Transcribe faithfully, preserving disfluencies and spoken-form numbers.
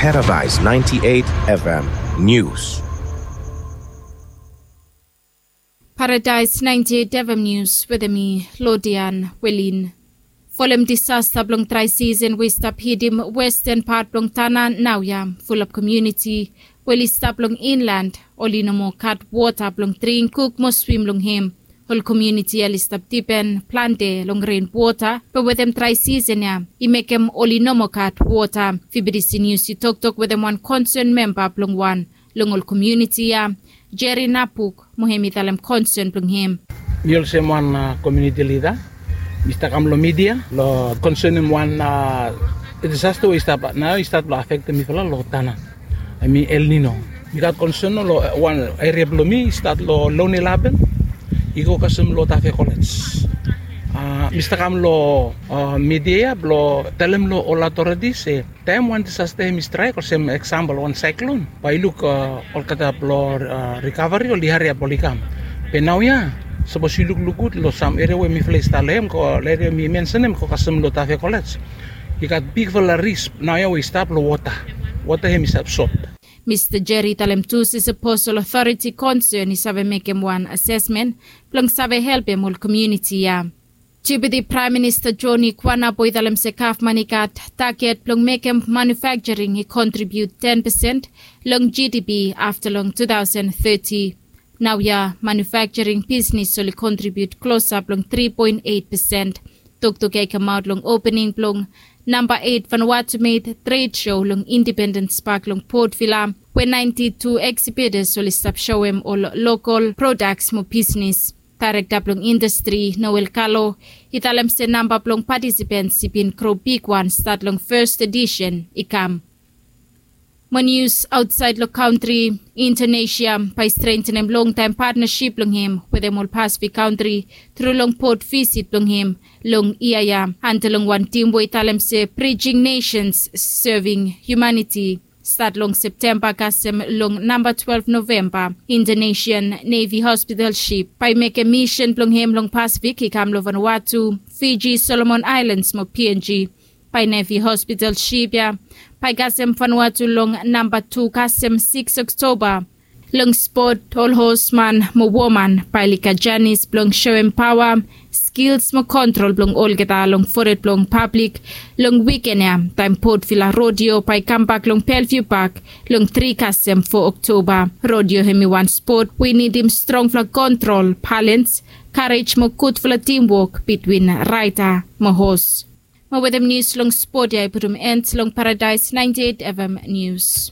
Paradise ninety-eight F M News. Paradise ninety-eight F M News wetem mi, Lodian Welin. Folem disasta blong drai sisen we i stap hitim westen pat blong Tanna naoia, fulap komuniti we oli stap long inland oli no moa gat wota blong dring, kuk mo swim long hem. Ol komuniti ya oli stap dipen plante long ren wota, be wetem drai sisen ya i mekem oli no moa gat wota. Fibidisi Nius i toktok wetem wan konsen memba blong wan long ol komuniti ya, Jerry Napuk, mo hem i talem konsen blong hem. Mi olsem wan komuniti lida, mi stap kam long midia long konsenem wan disasta we i stap nao i stat blong afektem mifala long Tanna, hemi El Nino. Mi gat konsen long wan eria blong mi i stat long Lone Laben i go kasem long Tafe Kolej. Mi stap kam long midia ya blong talem long ol authorities se taem wan disasta hemi straek olsem eksampol wan saeklon, bae yu luk olgeta blong rikaveri oli hariap oli kam. Be naoia sapos yu lukluk gud long sam eria we mifala i stap long hem, ol eria mi mensenem go kasem long Tafe Kolej, i gat bigfala ris naoia we i stap long wota. Wota hemi stap sot. Mista Jerry i talem tu se sapos ol otoriti konsen i save mekem wan asesmen blong save helpem ol komuniti ya. Deputi Praem Minista John Ikwanabo i talem se gavman i gat taget blong mekem manufakjaring i kontribiut ten pesen long G D P afta long two thousand thirty. Naoia manufakjaring bisnis oli kontribiut klosap long three point eight pesen. Toktok ya i kamaot long opening blong namba eight Vanuatu Made Trade Show long Independence Park long Port Vila, we ninety-two exhibitors oli stap soem ol lokol prodaks mo bisnis. Daerekta blong indastri Noel Kalo i talem se namba blong patisipens i bin gro bigwan stat long fes edisen i kam. Mo nius aotsaed long kantri, Indonesia bae i strentenem longtaem patnasip blong hem wetem ol Pasifik kantri tru long pot visit blong hem long yia ya anta long wan tim we i talem se Bridging Nations Serving Humanity. Stat long Septemba kasem long namba twelve Novemba, Indonesian Navy hospital sip bae i mekem misen blong hem long Pasifik i kam long Vanuatu, Fiji, Solomon Aelans mo P N G. Bae Navy hospital sip ya bae i kasem Vanuatu long namba tu kasem sikis Oktoba. Long spot, ol hosman mo woman bae oli gat janis blong soem paoa, skils mo kontrol blong olgeta long fored blong pablik long wiken ya, taem Port Vila Rodeo bae i kambak long Bellevue Park long tri kasem fo Oktoba. Rodeo hemi wan spot we i nidim strongfala kontrol, balans, karej mo gudfala timwok bitwin raeda mo hos. Mo wetem nius long spot ya i putum en long Paradise ninety-eight F M News.